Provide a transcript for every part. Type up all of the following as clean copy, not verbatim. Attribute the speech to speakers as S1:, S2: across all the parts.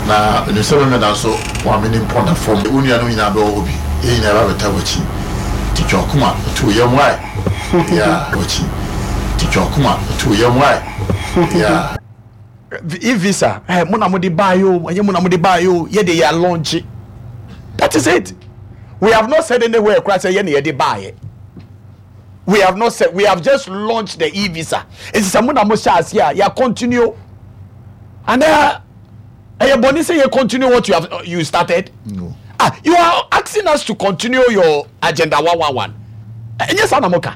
S1: Na menim sɛ Memeda nso wɔame ne mpɔn da fam. Wo nuanom nyinaa bɛwɔ hɔ bi. Yɛn nyinaa bɛabɛta w'akyi. Nti twa w'akoma to wo yam wae, yeah, w'akyi. Nti twa w'akoma to wo yam wae, yeah.
S2: E-visa, eh, mo na mo de baeɛ o, ɛnyɛ mo na mo de baeɛ o, yɛ de yɛ launch. That is it. We have not said anywhere koraa sɛ yɛ na yɛde baeɛ. We have not said, we have just launched the e-visa. Nti sɛ mo na mo hyɛ aseɛ a, yɛ continue. And ɛyɛ bɔne sɛ yɛ continue what you have you started.
S1: No.
S2: Ah, you are asking us to continue your agenda 111. Ɛnyɛ saa na mo ka.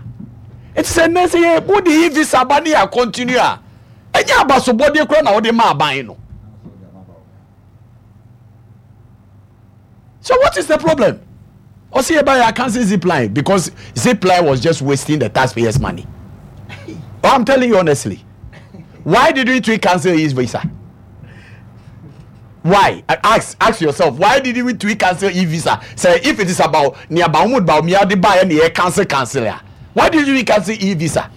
S2: Nti sɛ nnɛ sɛ yɛ mo de e-visa ba ne yɛ continue a, ɛnyɛ abasobɔdeɛ koraa na wɔde ma aban no. So what is the problem? Ɔsi yɛ ba yɛ cancel Zipline because Zipline was just wasting the taxpayers' money. Oh, I'm telling you honestly. Why did we cancel his visa? Why? Ask yourself, why did we cancel e-visa? Say if it is about nea Mahmoud Bawumia de ba yɛ cancel ya. Why did we cancel e-visa?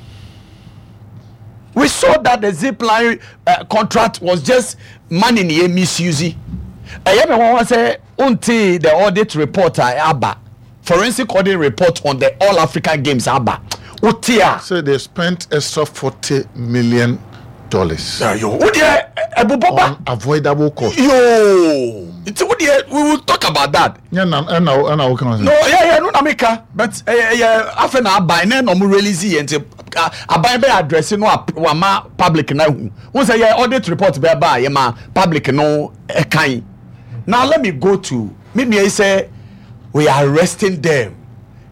S2: We saw that the Zipline contract was just money ni misuse. Ɛyɛ mi wɔn sɛ unti the audit report a aba, forensic audit report on the All African Games aba. Uti a.
S1: So they spent extra $40 million.
S2: Yo, wo deɛ ɛbobɔ ba.
S1: On avoidable cost.
S2: Yo, nti wo deɛ we will talk about that.
S1: Yeah, na ɛna ɛna wo kan.
S2: No, yeah, no na mi ka, but ɛyɛ afɛ na aban na ɛna ɔmo release yɛ, nti aban bɛ address no wama public na hu. N sɛ yɛ audit report bɛ ba yɛ ma public no ɛkan. Now let me go to me nua yi sɛ we are arresting them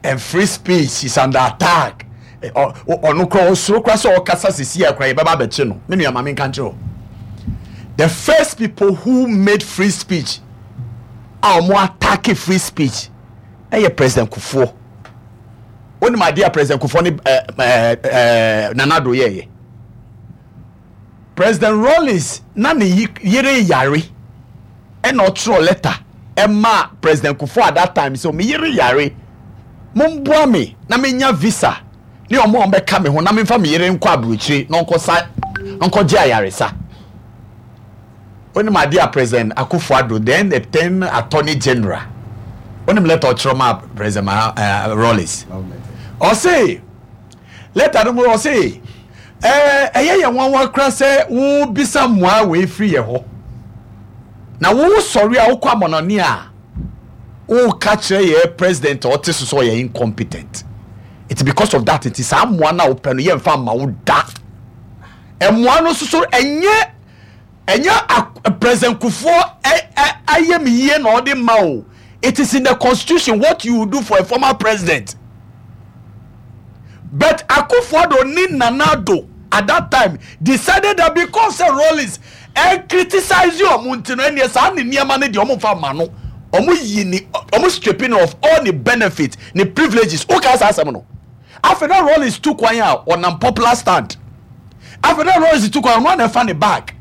S2: and free speech is under attack. Ɔno kora ɔsoro kora sɛ ɔkasa sisi a kora yɛbɛba abɛkye no. Me nua, maame nka nkyerɛ o. The first people who made free speech a wɔn attack free speech ɛyɛ President Kufuor. Onim adeɛ a President Kufuor ne ɛɛ ɛɛ ɛɛ Nana Addo yɛɛyɛ. President Rawlings na ne yere yare, ɛna ɔtwerɛ letter ɛma President Kufuor at that time sɛ, "Me yere yare, momboa me na menya visa ne ɔmo a ɔmbɛka me ho na memfa me yere nkɔ aburokyire na ɔnkɔsa nkɔgye ayaresa." Onim adeɛ a President Akufo Addo, then the 10 Attorney General, onim letter ɔtwerɛ ma President Rawlings? Ɔse letter no mu ɔse, ɛyɛ yɛn nwanwa kora sɛ wobisa mmoa wei firi yɛ hɔ na wo sɔre a wokɔ amɔnɔne a woka kyerɛ yɛ president a ɔte so sɛ ɔyɛ incompetent. It's because of that nti saa mmoa no a wopɛ no, yɛmfa mma wo da. Mmoa no nso so ɛnyɛ President Kufuor ayɛ me yie na ɔde ma o. It is in the constitution what you do for a former president. But Akufo-Addo ne Nana Addo at that time decided that because sɛ Rawlings ɛ criticize ɔmo nti no, ɛneɛ saa ne nneɛma no deɛ, ɔmo nfa ma no. Ɔmo yi ne, ɔmo stripping of all the benefits ne privileges. Woka saa asɛm no, afei na Rawlings tu kwan a ɔnam popular stand. Afei na Rawlings tu kwan, ɔno ana ɛfa ne bag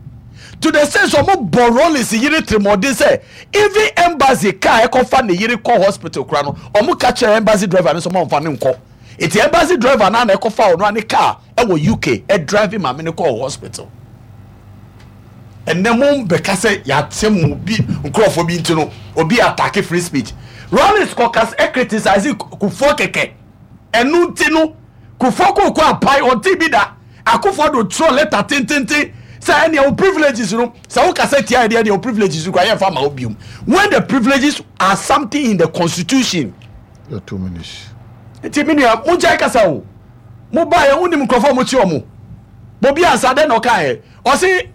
S2: to the sense ɔmo bɔ Rawlings yere tirimɔden sɛ even embassy car ɛkɔfa ne yere kɔ hospital kora no, ɔmo ka kyerɛ embassy driver no sɛ ɔmo nfa ne nkɔ. Eti embassy driver naa na ɛkɔfa ɔno ane car ɛwɔ UK ɛdrive maame no kɔ hospital. Ɛnɛ mo bɛka sɛ yɛate mo bi nkurɔfoɔ bi nti no obi attack free speech. Rawlings kɔka ɛ criticize Kufuor kɛkɛ, ɛno nti no Kufuor koko apae ɔnte bi da. Akufo Addo twerɛ letter tententen sɛ ɛnea wo privileges no, sɛ wokasa tia ɛdeɛ deɛ, wo privileges no kora yɛmfa ma wo biom, when the privileges are something in the constitution.
S1: Your 2 minutes.
S2: Nti me nua, mogyae kasa o. Mobaeɛ, wonim nkurɔfoɔ a mokyi ɔmo. Bobi ansa dɛn na ɔkaeɛ? Ɔse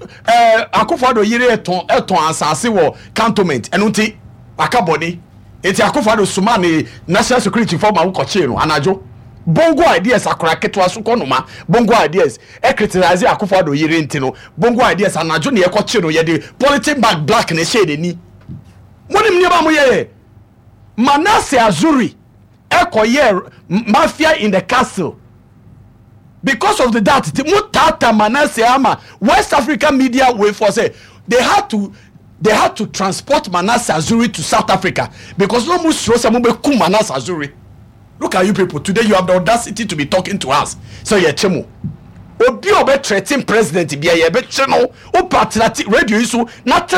S2: Akufo Addo yere ɛtɔn asase wɔ Cantonment, ɛno nti waka bɔne. Nti Akufo Addo soma ne national security fɔ ma wokɔkyee no anadwo. Bongo Ideas, akora ketewa so kɔ noma Bongo Ideas ɛ criticize Akufo Addo yere nti no, Bongo Ideas anadwo ne yɛkɔkye no, yɛde polythene bag black na ɛhyɛɛ n'ani. Monim nneɛma a moyɛyɛ. Manasseh Azure ɛkɔyɛ Mafia in the Castle because of the that ti mo tata Manasseh ama West African media wey for say they had to transport Manasseh Azure to South Africa because no mo suro sɛ mo bɛ kum Manasseh Azure. Look at you people today, you have the audacity to be talking to us sɛ yɛ kye mo. Obi a ɔbɛ threaten president bia, yɛ bɛ kye no. O pa tena radio yi so na threaten.